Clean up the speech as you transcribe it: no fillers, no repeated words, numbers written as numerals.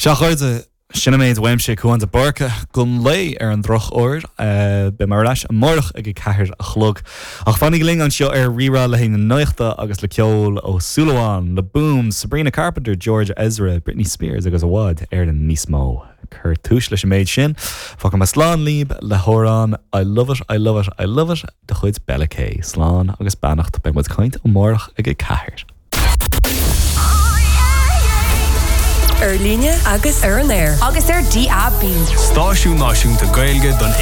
Sea, a chairde, sin an méid uaimse, Cúán de Búrca, don lae ar an drochuair. Beidh mé ar ais amárach ag a ceathair a chlog. Ach fanaigí linn anseo ar Rí-Rá le haghaidh na nuachta agus le ceol ó Súil Amháin, Le Boom, Sabrina Carpenter, George Ezra, Britney Spears agus i bhfad Éireann níos mó. Cuir tús leis an méid sin. Fágfaidh mé slán libh le hamhrán I Love It, I Love It, I Love It de chuid Bella K. Slán agus beannacht. Beidh muid ag caint amárach ag a ceathair. Ar líne agus ar an aer. Agus ar DAB. Stáisiún náisiúnta Gaeilge don.